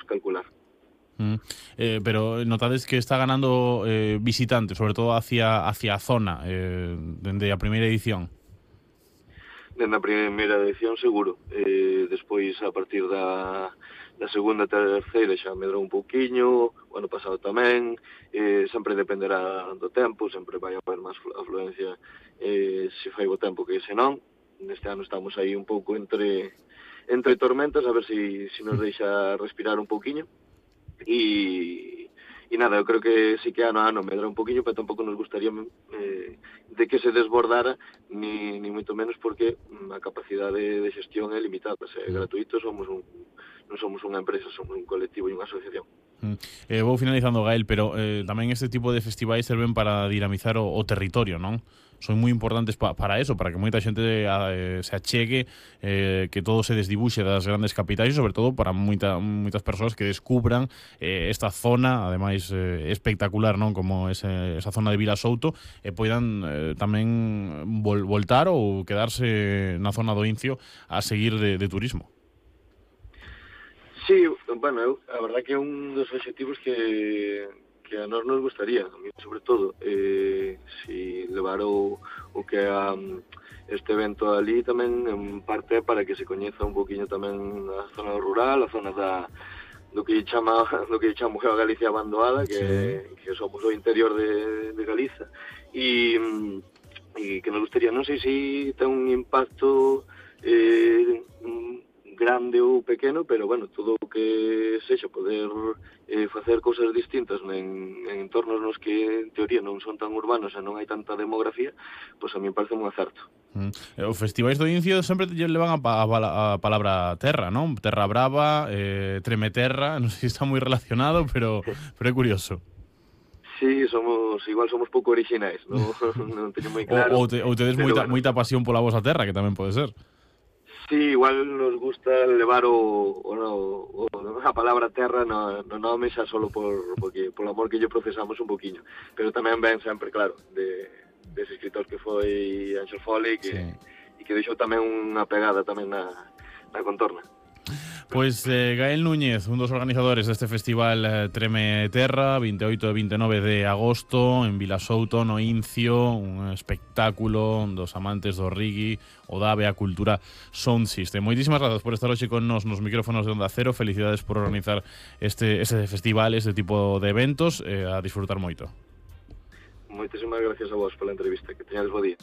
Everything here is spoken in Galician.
calcular. Pero notades que está ganando visitantes, sobre todo hacia a zona, dende a primeira edición. Dende a primeira edición seguro, despois a partir da segunda e terceira xa medrou un pouquiño, o ano pasado tamén, sempre dependerá do tempo, sempre vai haber máis afluencia se fai bo tempo que se non. Neste ano estamos aí un pouco entre tormentas, a ver se nos deixa respirar un pouquiño. E nada, eu creo que sí que ano a ano medra un poquinho, pero tampouco nos gustaría de que se desbordara, ni moito menos, porque a capacidade de xestión é limitada. Se é gratuito, non somos unha empresa, somos un colectivo e unha asociación. Vou finalizando, Gael, pero tamén este tipo de festivais serven para dinamizar o territorio, non? Son moi importantes para eso, para que moita xente se achegue, que todo se desdibuxe das grandes capitais e, sobre todo, para moitas persoas que descubran esta zona, ademais espectacular, non, como esa zona de Vilasouto, e poidan tamén voltar ou quedarse na zona do Incio a seguir de turismo. Sí, bueno, a verdad que é un dos obxectivos que a nós nos gustaría, a mí sobre todo, si levar o que é este evento ali tamén en parte para que se coñeza un poquinho tamén a zona rural, a zona do que chamo a Galicia abandoada, que somos o interior de Galiza, e que nos gustaría, non sei se ten un impacto grande ou pequeno, pero bueno, todo o que sexa poder facer cousas distintas en entornos nos que en teoría non son tan urbanos e non hai tanta demografía, pois a mí me parece un acerto. Os festivais do Incio sempre levan a palabra terra, non? Terra Brava, Tremeterra, non sei se está moi relacionado, pero é curioso. Sí, igual somos pouco orixinais, non teño moi claro. Ou tedes moita pasión pola vosa terra, que tamén pode ser. Sí, igual nos gusta levar a palabra terra no nome xa solo porque polo amor que lle procesamos un poquinho, pero tamén ven sempre, claro, dese escritor que foi Ángel Foley, e que deixou tamén unha pegada tamén na contorna. Pois Gael Núñez, un dos organizadores deste festival Treme Terra, 28 e 29 de agosto en Vilasouto, no Incio, un espectáculo dos amantes do reggae, o da a cultura Sound System. Moitísimas grazas por estar hoxe con nos micrófonos de Onda Cero. Felicidades por organizar este festival, este tipo de eventos, a disfrutar moito. Moitísimas gracias a vos pola entrevista, que teñades bo día.